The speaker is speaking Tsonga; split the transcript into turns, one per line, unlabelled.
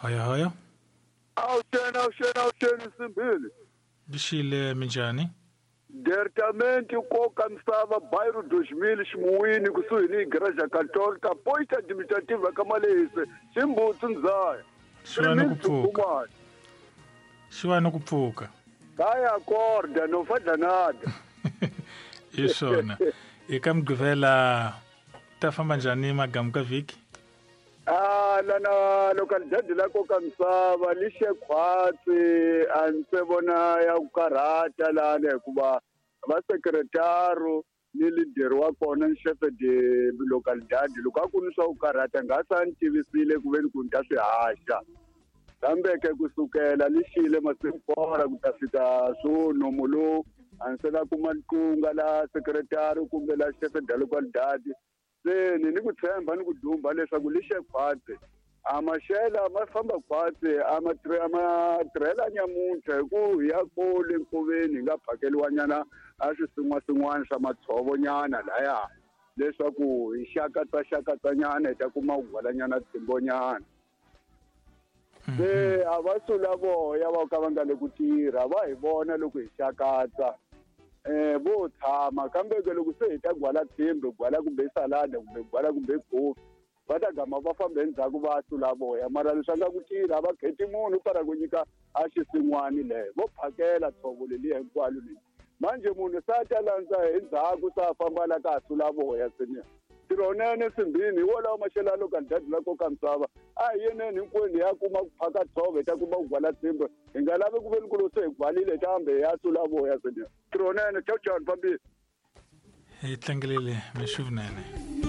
Hoyo hoyo.
Awuxeni awuxeni awuxeni Simbili.
Lixile minjhani?
Departamento Nkoka Misava Bairro 2000 Ximuwini kusuhi ni Igreja Católica Posta Administrativa ka Malehise Ximbutsu Ndzaya.
Xi va ni ku pfuka. Xi va ni ku pfuka.
Kaya acorda no fadla nada.
Hi swona. Eka Mugqivela ta famba njhani magamu ka vhiki?
Ah, lana localidade la Nkoka Misava lixe khwatsi a ni se vona ya ku karhata lana hikuva va sekretaro ni leader wa kona ni chef de localidade loko a ku ni swa ku karhata nga sa ni tivisile ku veni ku ni ta swi haxa kambe ke kusukela lixile masiku kora ku ta fika swo nomo lowu a ni se na kuma ntlunga la sekretari kumbe la chef de localidade se ni ni ku tshemba ni ku dumba leswaku lixe khwatsi a maxela ma famba khwatsi a ma a ma tirhela nyamuntlha hi ku hi ya kule nkoveni hi nga phakeliwanyana a swisin'wasin'wana swa matshovonyana laya leswaku hi xakatsa-xakatsanyana hi ta kuma ku gwalanyana tsimbonyana se a va sula voya va ka va nga le ku tirha va hi vona loko hi xakatsa um vo tshama kambe ke loko se hi ta gwala tshimbi gwala kumbe salada kumbe gwala kumbe kofi va ta gama va famba endzhaku va sula voya mara leswi a nga ku tirha va kheti munhu para ku nyika a xisin'wani leyo vo phakela tshovo leliya hinkwalo leyi manje munhu se a ta landza hi ndzhaku se a famba la ka ha sula voya senior ntirho wunene simbini hi wolawo maxelo ya localidade la koka misava a hi yeneni hinkwenu hi ya kuma ku phaka tshove hi ta kuma ku gwala tshimbe hi nga lavi ku veni ku lo se hi gwalile hi ta hambe hi ya sula voya senior ntirho wunene chao chao ni fambile
Hi tlangelile mixo vunene.